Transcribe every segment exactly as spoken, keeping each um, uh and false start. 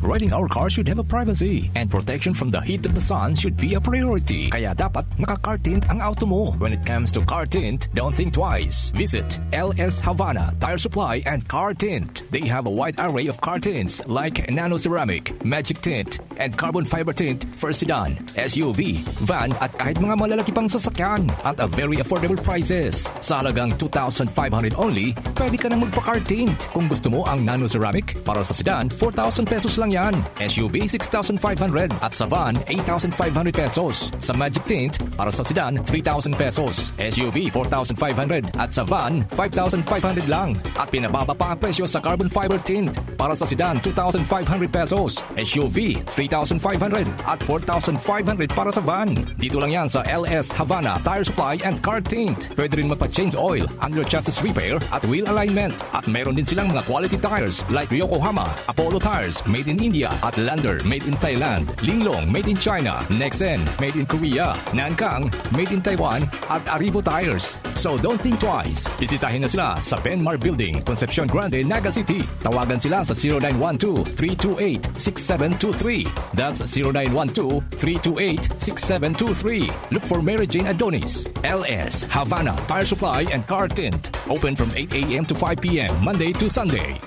Riding our car should have a privacy, and protection from the heat of the sun should be a priority. Kaya dapat naka-car tint ang auto mo. When it comes to car tint, don't think twice. Visit L S Havana Tire Supply and Car Tint. They have a wide array of car tints like nano ceramic, magic tint, and carbon fiber tint for sedan, S U V, van, at kahit mga malalaki pang sasakyan at a very affordable prices. Sa halagang two thousand five hundred only, pwede ka nang magpa-car tint. Kung gusto mo ang nano ceramic, para sa sedan, four thousand pesos lang yan. S U V, six thousand five hundred, at sa van, eight thousand five hundred pesos. Sa magic tint, para sa sedan, three thousand pesos. S U V, four thousand five hundred, at sa van, five thousand five hundred lang. At pinababa pa ang presyo sa carbon fiber tint. Para sa sedan, two thousand five hundred pesos. S U V, three thousand five hundred, at four thousand five hundred para sa van. Dito lang yan sa L S Havana Tire Supply and Car Tint. Pwede rin magpa-change oil, under chassis repair, at wheel alignment. At meron din silang mga quality tires like Yokohama, Apollo Tires, made in India, at Lander, made in Thailand, Linglong, made in China, Nexen, made in Korea, Nankang, made in Taiwan, at Aribo Tires. So don't think twice. Bisitahin na sila sa Benmar Building, Concepcion Grande, Naga City. Tawagan sila sa zero nine one two, three two eight, six seven two three. That's zero nine one two, three two eight, six seven two three. Look for Mary Jane Adonis, L S, Havana Tire Supply and Car Tint. Open from eight a m to five p m, Monday to Sunday.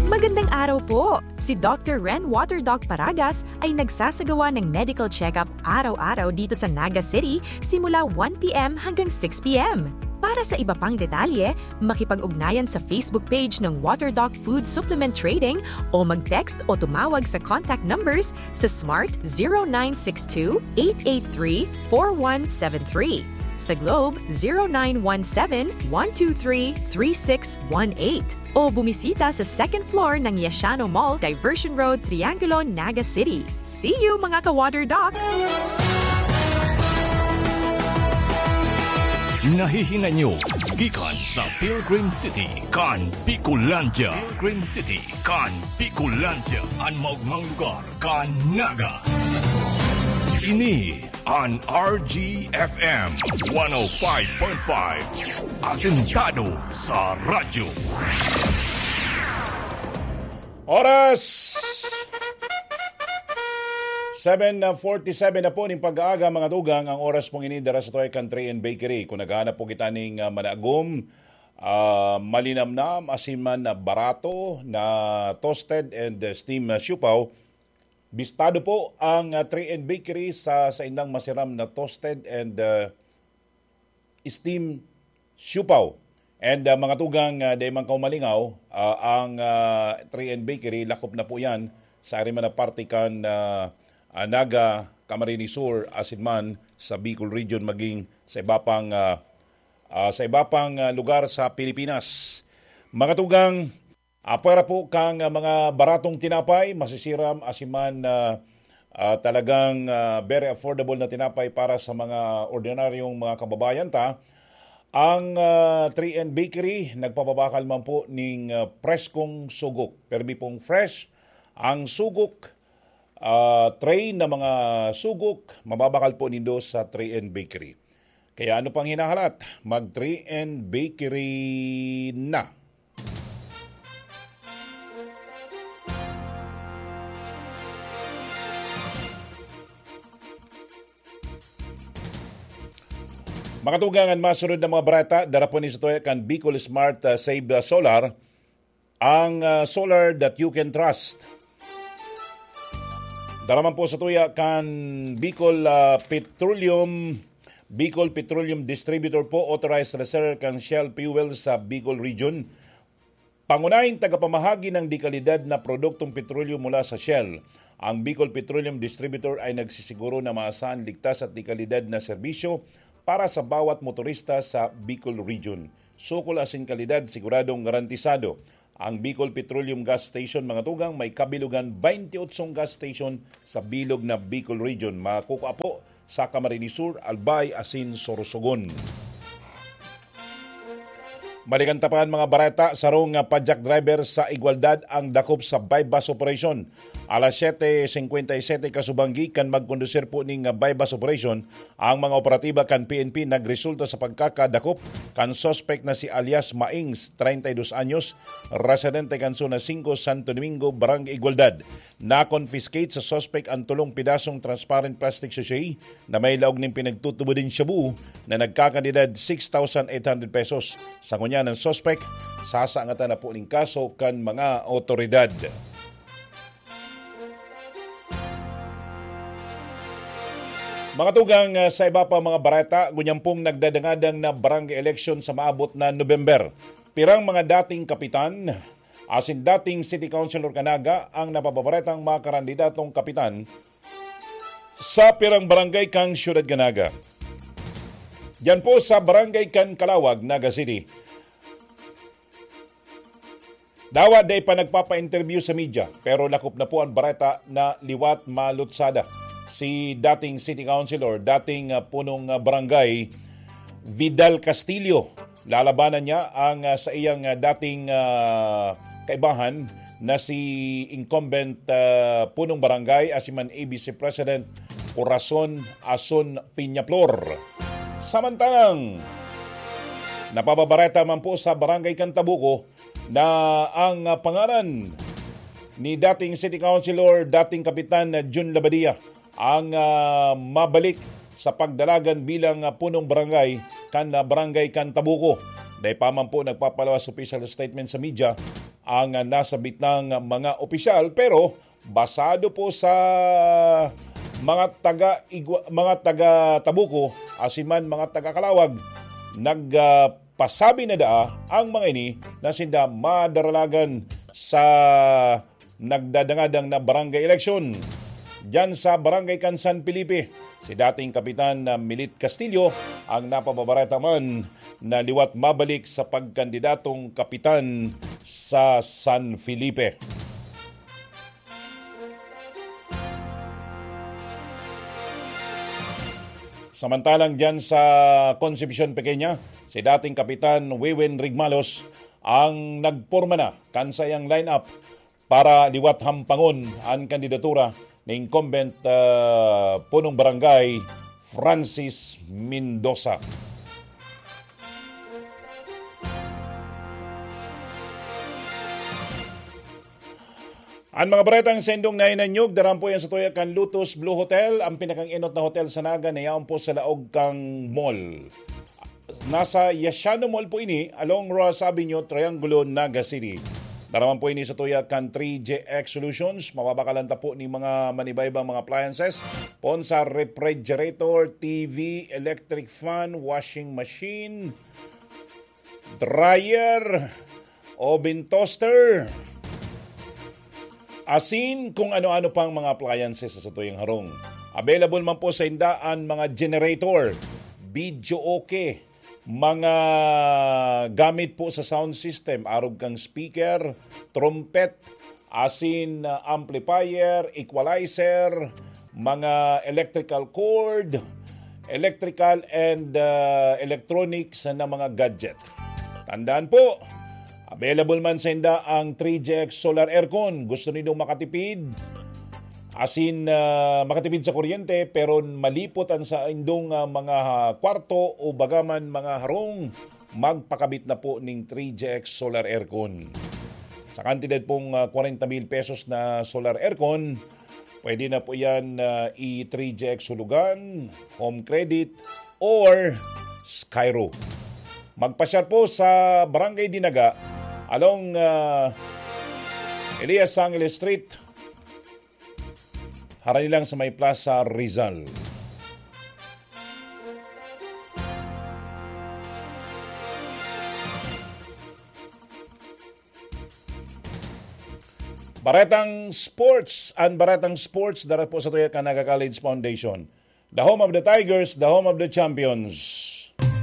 Magandang araw po! Si Doctor Ren Water Doc Paragas ay nagsasagawa ng medical check-up araw-araw dito sa Naga City simula one p m hanggang six p m. Para sa iba pang detalye, makipag-ugnayan sa Facebook page ng Water Doc Food Supplement Trading o mag-text o tumawag sa contact numbers sa Smart zero nine six two, eight eight three, four one seven three, sa Globe zero nine one seven, one two three, three six one eight, o bumisita sa second floor ng Yashano Mall, Diversion Road, Triangulo, Naga City. See you, mga ka-Water Doc! Nahihingan nyo gikan sa Pilgrim City kan Bicolandia. Pilgrim City kan Bicolandia, an maogmang lugar kan Naga. Ini an R G F M one oh five point five. Asentado sa radyo. Oras seven forty-seven na po ning pag-aaga, mga tugang. Ang oras pong ini dara sa Toy Country and Bakery. Kung naghahanap po kita ning, ah, managom, ah, malinamnam, asin man na barato na toasted and, ah, steam, ah, siopao, bistado po ang, ah, Three N Bakery sa saindang masiram na toasted and, ah, steam siopao. And, ah, mga tugang, ah, dai man kaw malingaw, ah, ang, ah, Three N Bakery, lakop na po yan sa ari man na parte kan, ah, ah, Naga, Camarines Sur, asin man sa Bicol Region, maging sa iba pang, ah, ah, sa iba pang, ah, lugar sa Pilipinas. Mga tugang, apwera po kang, ah, mga baratong tinapay, masisiram, asin man, ah, ah, talagang, ah, very affordable na tinapay para sa mga ordinaryong mga kababayan ta. Ang, ah, Three N Bakery, nagpapabakal man po ning, ah, preskong sugok. Permi pong fresh ang sugok, ah, tray na mga sugok, mababakal po nindo sa Three N Bakery. Kaya ano pang hinahalat? Mag Three N Bakery na! Mga tugang, an masunod na mga bareta, dara po ni sa tuya kan Bicol Smart, ah, Save, ah, Solar, ang, ah, solar that you can trust. Dara man po sa tuya kan Bicol, ah, Petroleum, Bicol Petroleum Distributor po, authorized reseller kan Shell Fuel sa Bicol Region. Pangunahing tagapamahagi ng dekalidad na produktong petrolyo mula sa Shell, ang Bicol Petroleum Distributor ay nagsisiguro na maasahan, ligtas at dekalidad na serbisyo para sa bawat motorista sa Bicol Region. Sukol asin kalidad, siguradong garantisado. Ang Bicol Petroleum Gas Station, mga tugang, may kabilugan twenty-eight gas station sa bilog na Bicol Region. Makukua po sa Camarines Sur, Albay, asin Sorsogon. Balikan ta pa an mga bareta, sarong, ah, padyak driver sa Igualdad ang dakop sa buy-bust operation. Alas siyete singkwenta y siyete kasubanggi kan magkondusir po ning, ah, buy-bust operation, ang mga operatiba kan P N P nagresulta sa pagkakadakop kan suspek na si alias Maings, treinta y dos anyos, residente kan Zona singko, Santo Domingo, Barangay Igualdad. Na-confiscate sa suspek ang tulong pidasong transparent plastic sachet na may laog nin pinagtutubod nin shabu na nagkakantidad six thousand eight hundred pesos. Sa ngunyan, ang suspek, sasangatan na po nin kaso kan mga otoridad. Mga tugang, ah, sa iba pa mga bareta, ngunyan pong nagdadangadang na barangay election sa maabot na November. Pirang mga dating kapitan, asin dating city councilor kan Naga ang napapabaretang mga karandidatong kapitan sa pirang barangay kan siyudad kan Naga. Diyan po sa barangay kan Calauag, Naga City. Dawa dai pa nagpapa-interview sa media, pero lakop na po ang bareta na liwat malutsada si dating city councilor, dating, ah, punong, ah, barangay, Vidal Castillo. Lalabanan niya ang, ah, sa iyang, ah, dating, ah, kaibahan na si incumbent, ah, punong barangay, asiman A B C President Corazon Ason Peñaflor. Samantalang, napababareta man po sa Barangay Cantabuco na ang, ah, pangaran ni dating City Councilor, dating Kapitan na Jun Labadia, ang, ah, mabalik sa pagdalagan bilang, ah, punong barangay kan, ah, Barangay Cantabuco. Dai pa man po nagpapalabas official statement sa media ang, ah, nasabitang mga opisyal, pero basado po sa mga taga Igwa-, mga taga Tabuco, asiman mga taga Calauag, nag, ah, pasabi na daa ang mga ini na sinda madaralagan sa nagdadangadang na barangay eleksyon. Diyan sa barangay kan San Felipe, si dating Kapitan na Milit Castillo ang napababareta man na liwat mabalik sa pagkandidatong kapitan sa San Felipe. Samantalang diyan sa Concepcion Pequeña, si dating Kapitan Wiwin Rigmalos ang nagporma na kan saiyang lineup para liwat hampangon an kandidatura ni incumbent, ah, punong barangay Francis Mendoza. An mga baretang saindong nahinanyog, daran po yan sa tuya kan Lotus Blue Hotel, ang pinakang-enot na hotel sa Naga na yaon po sa laog kan mall. Nasa Yashano Mall po ini, along Roxas Avenue, Triangulo, Naga City. Daraman po ini sa tuya kan three J X Solutions. Mababakalan ta po ni mga manibaybang mga appliances. Pon sa refrigerator, T V, electric fan, washing machine, dryer, oven toaster, asin kung ano-ano pang mga appliances sa satuyang harong. Available man po sa inda an mga generator, video okay, mga gamit po sa sound system, arog kang speaker, trumpet, asin, ah, amplifier, equalizer, mga electrical cord, electrical and, ah, electronics na mga gadget. Tandaan po, available man sa inda ang three G X Solar Aircon. Gusto nindong makatipid? Asin, ah, makatipid sa kuryente, pero malipot ang sa indong, ah, mga kwarto o bagaman mga harong, magpakabit na po ning three G X Solar Aircon. Sa kantidad pong, ah, kwarenta mil pesos na solar aircon, pwede na po yan, ah, i-three G X Hulugan, Home Credit, or Skyro. Magpasyar po sa Barangay Dinaga, along, ah, Elias Sangil Street, harani lang sa may Plaza Rizal. Baretang sports, an Baretang Sports, dara po sa tuya kan Naga College Foundation. The home of the Tigers, the home of the champions.